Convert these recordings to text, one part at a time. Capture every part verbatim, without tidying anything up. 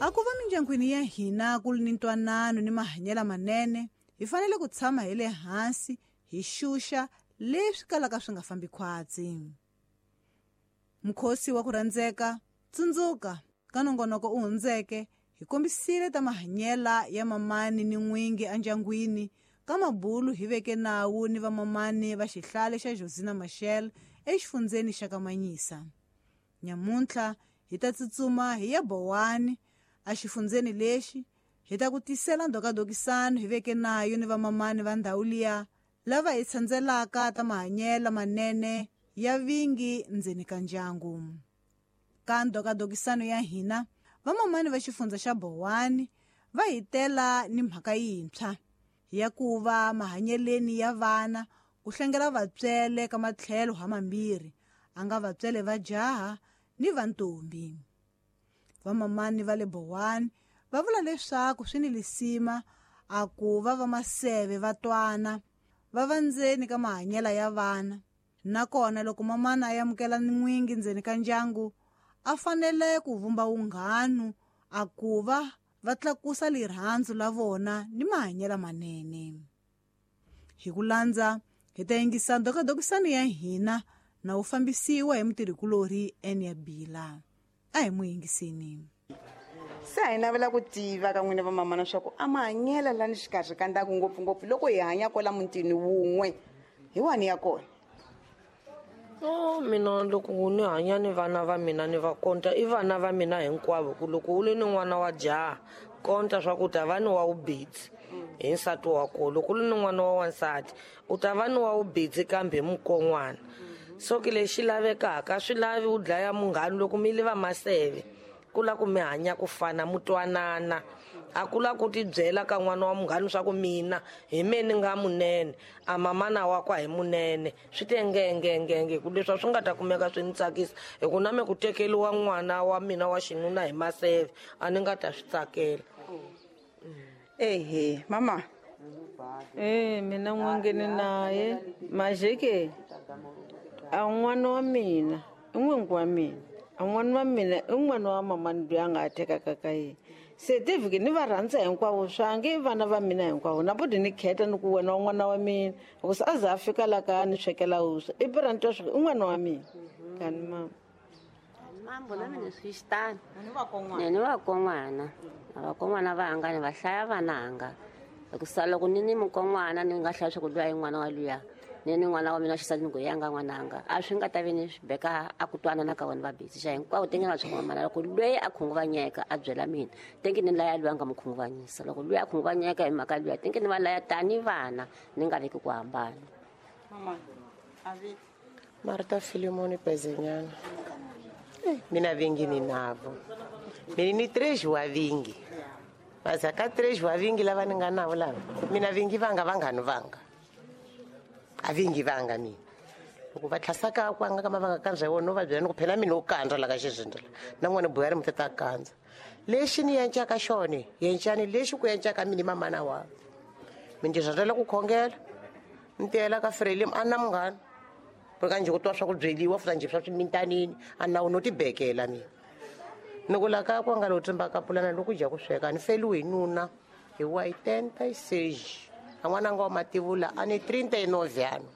A ku va mindyangwini ya hina ku ri ni ntwanano ni mahanyelo manene, hi fanele ku tshama hi le hansi hi xuxa leswi kalaka swi nga fambi khwatsi. Mukhosi wa ku rhandzeka, tsundzuka ka nongonoko u hundzeke hi kombisile ta mahanyela ya mamani ni n'wingi endyangwini ka mabulu hi veke nawu ni vamamani va xihlale xa Josina Machel exifundzeni xa Kamanyisa. Nyamuntlha hi ta tsutsuma hi ya Bowani exifundzeni lexi hi ta ku tisela ndhokadokisano hi veke nayo ni vamamani va ndhawu liya lava hi tshandzelaka ta mahanyelo manene ya vingi ndzeni ka ndyangu. Ka ndhokadokisano ya hina vamamani va xifundza xa Bowani va hi tela ni mhaka yintshwa ya ku va mahanyeleni ya vana ku hlengela vatswele ka matlhelo hamambirhi, a nga vatswele va jaha ni va ntombi. Vamamani va le Bowani va vula leswaku swi ni lisima a ku va va maseve va twana va va ndzeni ka mahanyelo ya vana, nakona loko mamana a amukela n'wingi ndzeni ka ndyangu a fanele ku vumba vunghanu a ku va va tlakusa lirhandzu la vona ni mahanyelo manene. Hi ku landza hi ta yingisa ndhokadokisano ya hina na wu fambisiwa hi mutirhikulorhi Enia Bila. A hi mu yingiseni. Se a hi navela ku tiva ka n'wina vamamana swa ku a mahanyelo lani xikarhi ka ndhaku ngopfungopfu loko hi hanya kwala mutini wun'we hi wani ya kona. No, mina loko ni hanya ni vana va mina ni va konta i vana va mina hinkwavo, ku loko u le ni n'wana wa jaha konta swa ku ta va ni wa wubitsi hi nsati wa kona, loko u le ni n'wana wa wansati u ta va ni wa wubitsi kambe hi mukon'wana. So ke lexi lavekaka swi lavi u dlaya munghana loko mi le va maseve ku la ku mi hanya ku fana mu twanana, a ku la ku tibyela ka n'wana wa munghana swa ku mina hi me ni nga munene a mamana wa kwa hi munene, swi te ngengengenge ku leswi swi nga ta kumeka swi ni tsakisa hi ku na me ku tekeriwa n'wana wa mina wa xinuna hi maseve a ni nga ta swi tsakela. Ehe mama. Eh mina n'wangeni naye majeke a n'wana wa mina i n'wingi wa mina, a n'wana wa mina i n'wana wa mamani loyi a nga tekaka ka yena. Se tivhiki ni va rhandza hinkwavo swange i vana va mina hinkwavo na budi ni kheta ni ku wena wa n'wana wa mina hikusa a za a fika la ka ni swekela vuswa i pira ni twa swa ku i n'wana wa mina. Kani mama mambo na mina swi xitani ni vakon'wana vakon'wana va hanga ni va hlaya vananga hikusa loko ni ni mukon'wana ni nga hlaya swa ku luya i n'wana wa luya ni ni n'wana wa mina xisati ni ku yanga n'wananga a swi nga ta vi ni swi beka a ku twanana ka vona va busy xa hinkwavo tenge na swi mamana loko loyi a khunguvanyeka a byela mina tenge ni laya luya nga mu khunguvanyisa, loko luya a khunguvanyeka hi mhaka luya tenge ni va laya tani vana ni nga veki ku hambana. Mama avi Marta Filimoni Pezenyana. Mina vingi ni navo mina ni três wa vingi mas aka três wa vingi lava ni nga navo lava mina vingi vanga vanghani vanga a vingi vanga mina loko va tlhasaka ku anga ka mavanga kandza wona no va byela ni ku phela mina u kandza la ka xizindla na n'wana buya ri mutata kandza lexi ni yencaka xona yencani lexi ku yencaka mina mamana wa mi ndzi rhandzela ku khongela ni tiyela ka Frelim a na munghana ka njhe ku twa swa ku byeliwa futa njhe swa swimintanini a nawu no tibekela mina ni ku la ka ku nga lo tsimba ka pulana loko dya ku sweka ni feliwe hi nuna hi wa oitenta e seis a n'wananga wa mativula a ni trinta e nove ano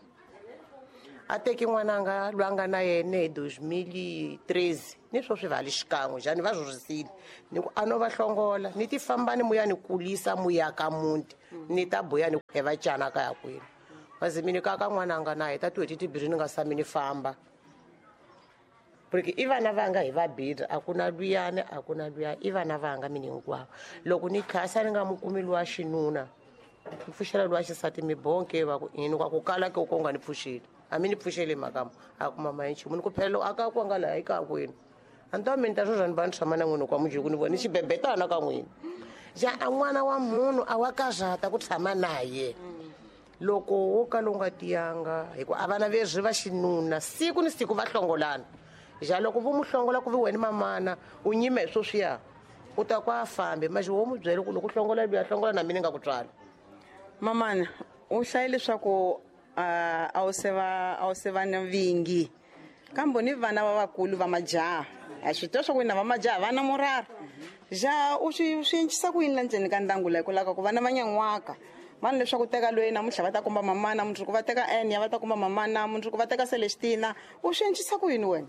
a teki n'wananga loyi a nga na yena hi dois mil e treze ni swo swi vali xikan'we njhani va rhurhisile ni ku a no va hlongola ni ti famba ni muya ni kulisa muya ka muti ni ta buya ni va cana ka ya kwini mas mina ka ka n'wananga na heta tin'hweti timbirhi ni nga sami ni famba porque i vana vanga hi vabirhi a ku na luyani a ku na luya i vana vanga mina hinkwavo loko ni khasa ni nga mu kumi luwa xinuna ni pfuxela luwa xisati mi bonke va ku yini kwa ku kala ke ku nga ni pfuxeli a mi ni pfuxeli mhaka a ku mama hi nchumu ni ku phela loko a ka ku nga laha eka kwini a ni ta mi ni ta swo ni va ni tshama na n'wina kwa mujeko ni vona ni xibebetana ka n'wina ja a n'wana wa munhu a wa karhata ku tshama naye loko wo kala u nga tiyanga hi ku a vana vezwi va xinuna siku ni siku va hlongolana ja loko vo mu hlongola ku vi wena mamana u nyime hi sweswiya u ta ku a fambe manje wo mu byela ku loko u hlongola luya hlongola na mina ni nga ku tswala. Mamana u hlaye leswaku a wu se va a wu se va na vingi kambe ni vana va vakulu va majaha A swi twa swa ku na va majaha va na murara ja u swi swi encisa ku yini la ndzeni ka ndyangu la hikwalaho ka ku vana va nyan'waka vanhu leswaku teka loyi namuntlha va ta komba mamana mundzuku va teka Enya va ta komba mamana mundzuku va teka Celestina u swi encisa ku yini wena?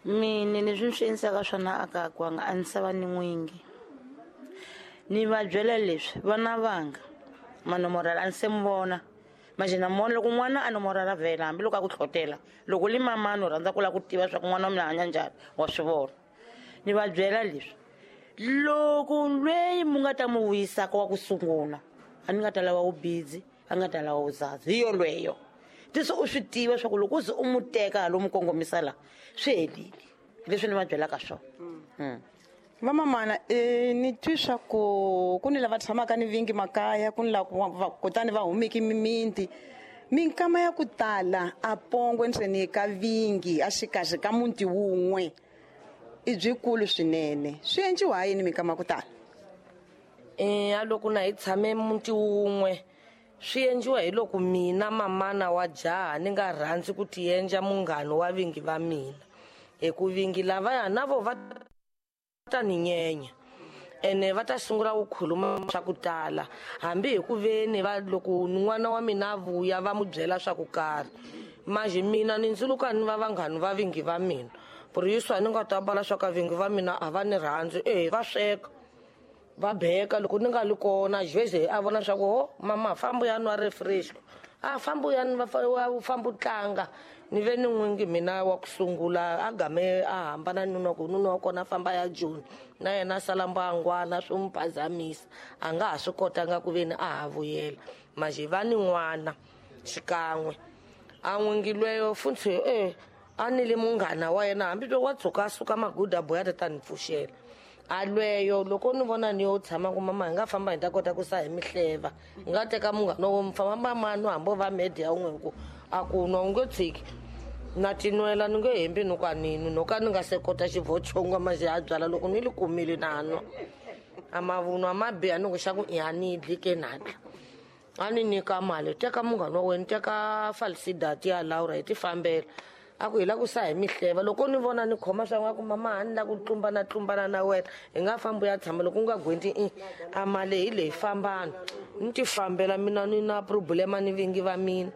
Mina leswi ni swi endlisaka swona a kaya kwanga a ni sava ni n'wingi ni va byela leswi vana vanga manomorala a ni se mi vona manje na mona loko n'wana a nomorala vhela hambiloko a ku tlhotela loko li mamani u rhandza ku lava ku tiva swa ku n'wana wa mina hanya njhani wa swi vona ni va byela leswi loko lweyi mu nga ta mu vuyisaka wa ku sungula a ni nga ta lava wu busy a nga ta lava wu zazi hi yolweyo tisi u swi tiva swa ku loko u ze u mu teka halo mu kongomisa la swi helile leswi ni va byelaka swona. Mm. Vamamana e ni twi swa ku ku ni lava tshamaka ni vingi makaya ku ni la kutani va humiki mimiti minkama ya ku tala a pongwe ndzeni ka vingi a xikarhi ka muti wun'we i byikulu swinene swi endliwa ha yini minkama ya ku tala? E a loko na hi tshame muti wun'we swi endliwa hi loko mina mamana wa jaha ni nga rhandzi ku tiendla munghana wa vingi va mina hi ku vingi lavaya na vo va ta ni nyenya ene va ta sungula ku khuluma swa ku tala hambi hi ku veni va loko n'wana wa mina a vuya va mu byela swa ku karhi manje mina ni ndzuluka ni va vanghani va vingi va mina puriyiswa ni nga ta ambala swa ka vingi va mina a va ni rhandzi e va sweka va beka loko ni nga li kona jeze a vona swa ku ho mama famba ya nwa refresh a famba ya va famba u tlanga ni ve ni n'wingi mina wa ku sungula a game a hambana nuna ku nuna wa kona famba ya Joni na yena a sala mbangwana swi n'wi phazamisa a nga ha swi kotanga ku ve ni a ha vuyela manje va ni n'wana xikan'we a n'wingi lweyo futhi e a ni le munghana wa yena hambi loko wa tshuka a suka maguda boya ta ta ni pfuxela a lweyo loko ni vona ni yo tshama ku mama hi nga famba hi ta kota ku sa hi mihleva hi nga teka munghana wo famba mama no hambi va media wun'we ku a ku nwa u nge tshiki na tinwela ni nge hembi ni ku a ni nwi no ka ni nga se kota xivochongo manje a byala loko ni li kumile na nwa a mavunwa ma biha ni ku xa ku i a ni dli ke natla a ni nyika mali teka munghana wa wena teka falsidati ya Laura hi ti fambela a ku hi la ku sa hi mihleva loko ni vona ni khoma swa n'wa ku mama a ni la ku tlumbana tlumbana na wena hi nga fambi ya tshama loko u nga gwenti i a mali hi leyi fambana ni ti fambela mina ni na problema ni vingi va mina.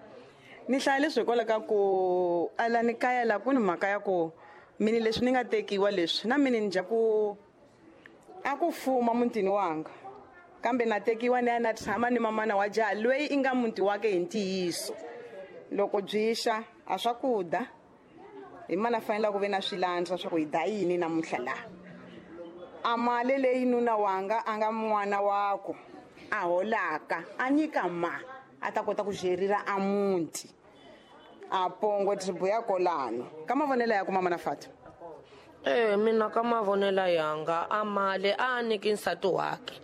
Ni hlaya leswi hikwalaho ka ku ala ni kaya la ku ni mhaka ya ku mini leswi ni nga tekiwa leswi na mini ni dya ku a ku fuma mutini wanga kambe na tekiwa ni ya na tshama ni mamana wa jaha loyi i nga muti wake hi ntiyiso loko byi xa a swakudya hi mana fanele ku ve na swilandza swa ku hi da yini namuntlha laha a mali leyi nuna wanga a nga n'wana wako a holaka a nyika ma a ta kota ku xerira a muti a pongo tribu ya kolano ka mavonelo ya ku mama na Fatu. E mina ka mavonelo yanga a mali a nyiki nsati wakhe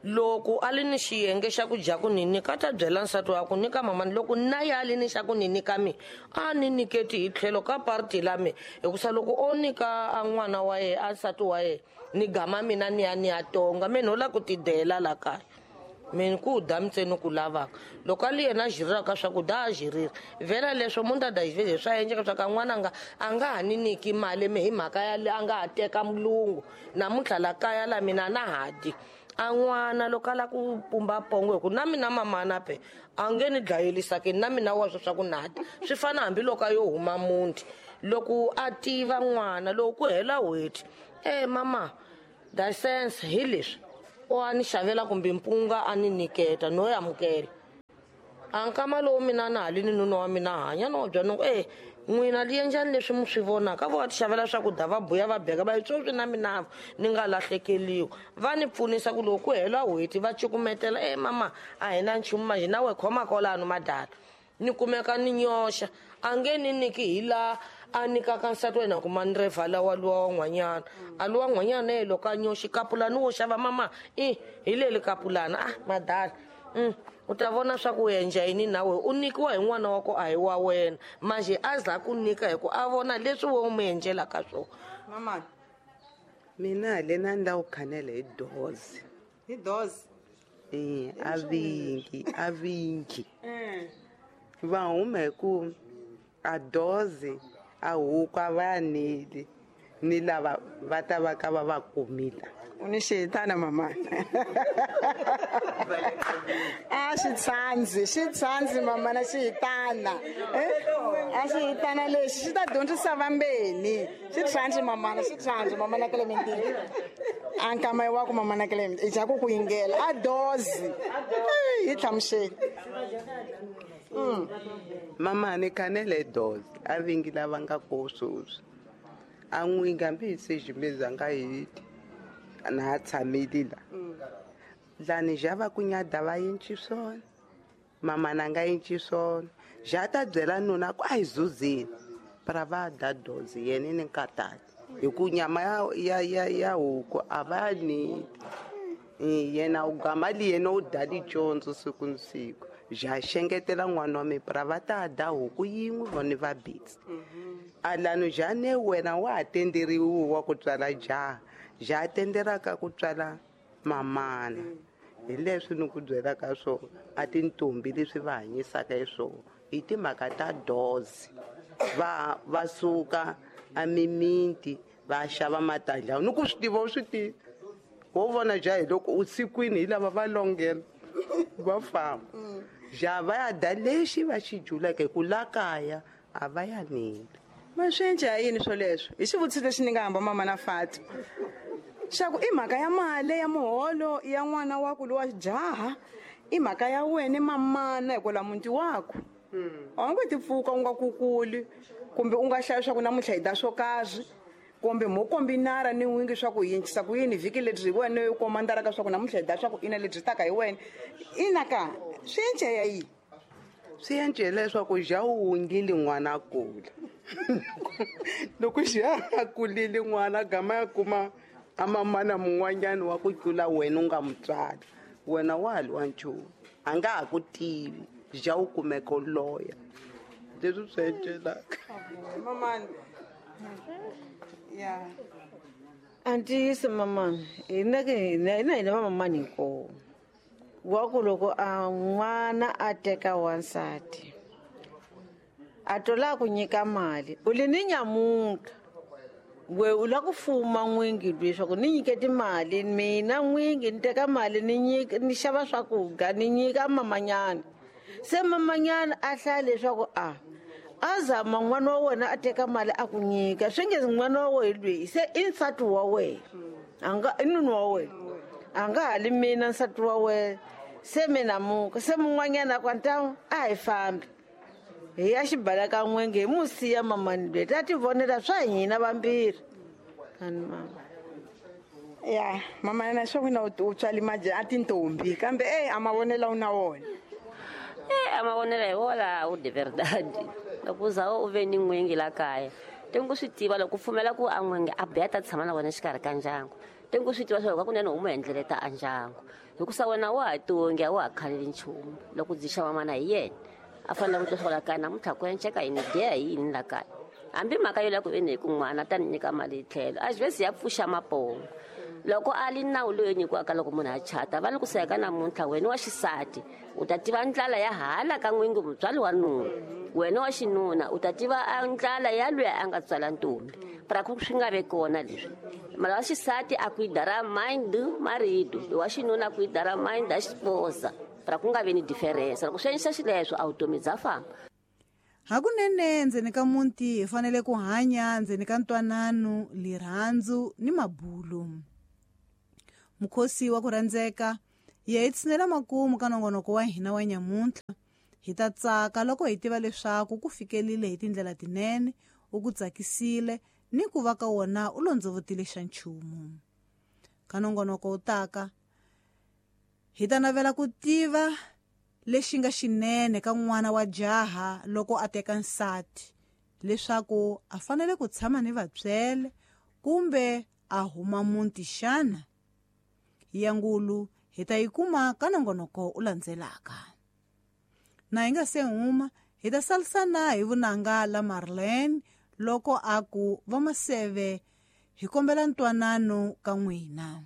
loko a li ni xiyenge xa ku dya ku ni nyika ta byela nsati wa ku nyika mamani loko na ya li ni xa ku ni nyika mi a ni nyiketi hi tlhelo ka party la mi hikusa loko o nyika a n'wana wa ye a nsati wa ye ni gama mina ni ya ni ya tonga mina no la ku tidela la kaya mina ku dya ntsena ku lavaka loko a li yena a xiriraka swakudya a xirira vhela leswo mundada xiveze swa endleka swa ka n'wananga a nga ha ni nyiki mali mi hi mhaka ya a nga ha teka mulungu namuntlha la kaya la mina na ha dyi a n'wana loko a la ku pumba pongo hi ku na mina mamana pe a nge ni dlayelisaki na mina wa swo swa ku na dya swi fana hambiloko a yo huma muti loko a tiva n'wana loko ku hela n'hweti e mama license hi leswi o a ni xavela kumbe mpunga a ni nyiketa no amukela a nkama lowu mina na ha li ni nuna wa mina hanya no bya no e n'wina li endlani leswi mi swi vonaka vo va ti xavela swakudya va buya va beka va yi sweswi na mina ni nga lahlekeliwa va ni pfunisa ku loko ku hela n'hweti va cukumetela e mama a hi na nchumu manje na we khoma kwalano madala ni kumeka ni nyoxa a nge ni nyiki hi laha a nyikaka nsati wa yena kuma ni revala wa luwa wa n'wanyana a luwa n'wanyana ye loko a nyoxi kapulani wo xava mama i hi leli kapulana ah madala mm u ta vona swa ku endla yini na we u nyikiwa hi n'wana wa ku a hi wa wena manje a za ku nyika hi ku a vona leswi we u mu endlelaka swona. Mama mina lena ni lava ku khanela hi dozi hi dozi e a vingi a vingi va huma hi ku a dozi a huku a va neli Ni lava va ta va ka va va kumile. U ni xihitana mama. A xi tsandzi, xi tsandzi mama na xihitana. A xihitana lexi xi ta dyondzisa vambeni. Xi tsandzi mama na xi tsandzi mama na Clementine. A nkama wa ku mama na Clementine i ja ku ku yingela a dozi. Hi hlamuseli. Mama ni kanele dozi a vingi lava nga ko sweswi. A n'wi hambi se ximeza nga hiti. Na tshamile la. Lani ja va ku nyada va yinci swona. Mama na nga yinci swona. Ja ta byela nuna ku a hi zuzini. Pra va da dozi yena ni nkatati. Hi ku nyama ya ya ya ya huku a va ni. Yena u gama li yena u da licondzo siku ni siku. Ja xengetela n'wana wa mi pra va ta da huku yin'we vona va bitsi. A lani ja ne wena wa ha tenderiwi wa ku tswala jaha. Ja tenderaka ku tswala mamana. Hi leswi ni ku byelaka swona a tintombi leswi va hanyisaka hi swona i timhaka ta dozi. Va va suka a mimiti va xava matandla ni ku swi tiva u swi tivi. Wo vona ja hi loko u sikwini hi lava va longela va famba. Ja va ya da lexi va xi juleke hi ku la kaya a va ya nile. Ma swi endla yini swoleswo? Hi xivutiso lexi ni nga hamba mama na Fati. Xa ku i mhaka ya mali ya muholo ya n'wana wa ku lowa jaha, i mhaka ya wena mamana hikwalaho muti waku. A wu nge ti pfuka u nga kukuli kumbe u nga hlaya swa ku namuntlha hi da swo karhi kumbe mo kombinara ni n'wingi swa ku yincisa ku yini vhiki lebyi hi wena u komandaraka swa ku namuntlha hi da swa ku ina lebyi taka hi wena. Ina ka swi endla ya yini? Swi endle leswaku ja u wungile n'wana a kula. Loko ja a kulile n'wana gama ya kuma a mamana mun'wanyana wa ku tlula wena u nga mutswari. Wena wa ha lwa nchumu. A nga ha ku tivi. Ja u kumeka u loya. Leswi swi endlelaka. Mamani. Ya. A ntiyiso mamani, hina ke hina hina hina vamamani hinkwavo. Wa ku loko a n'wana a teka wansati a tola ku nyika mali u li ni nyamuntlha we u la ku fuma n'wingi leswaku ni nyike timali mina n'wingi ni teka mali ni nyika ni xava swakudya ni nyika mamanyana. Se mamanyana a hlaya leswaku a a zama n'wana wa wena a teka mali a ku nyika swi nge n'wana wa wena loyi se i nsati wa wena a nga i nuna wa wena a nga ha li mina nsati wa wena se mina muka se mun'wanyana ku ntamu a hi fambi hi ya xibaleka n'wingi hi mu siya mamani loyi ta ti vonela swa hina vambirhi. Ani mama. Ya mama na swa wena u tswali maja a tintombi kambe eh a mavonela u na wona. Eh a mavonela hi wona u de verdade. Loko za u ve ni n'wingi la kaya tengo swi tiva loko pfumela ku a n'wingi a biya ta tshama na wena xikarhi ka ndyangu. Tengo swi tiva swa ku kunene u mu endleleta a ndyangu. Hikusa wena wa ha tongi a wa ha khaleli nchumu. Loko byi xava mana hi yena a fanele ku twa swa la kaya namuntlha ku enceka yini deya hi yini la kaya. Hambi mhaka yo la ku veni hi ku n'wana ta ni nyika mali hi tlhelo a xivesi ya pfuxa mapongo. Loko a li nawu loyi nyikiwaka loko munhu a chata va ni ku seka namuntlha wena wa xisati u ta tiva ndlala ya hala ka n'wingi mutswari wa nuna. Wena wa xinuna u ta tiva ndlala ya luya a nga tswala ntombi. Pra ku swi nga ve kona leswi. Mara wa xisati a cuidar mãe do marido, wa xinuna a cuidar mãe da esposa. Pra ku nga vi ni diferença. Loko swi endlisa xileswo a vutomi bya famba. Hakunene ndzeni ka muti hi fanele ku hanya ndzeni ka ntwanano, lirhandzu ni mabulu. Mukhosi wa ku rhandzeka ya hi tshinela makumu ka nongonoko wa hina wa nyamuntlha. Hi ta tsaka loko hi tiva leswaku ku fikelile hi tindlela tinene, u ku tsakisile ni ku va ka wona u londzovotile xa nchumu. Ka nongonoko wu taka hi ta navela ku tiva lexi nga xinene ka n'wana wa jaha loko a teka nsati, leswaku a fanele ku tshama ni vatswele kumbe a huma muti xana. Ya ngulu hi ta yi kuma ka nongonoko u landzelaka. Na hi nga se huma hi ta salisana hi vunanga la Marlene loko a ku vamaseve hi kombela ntwanano ka n'wina.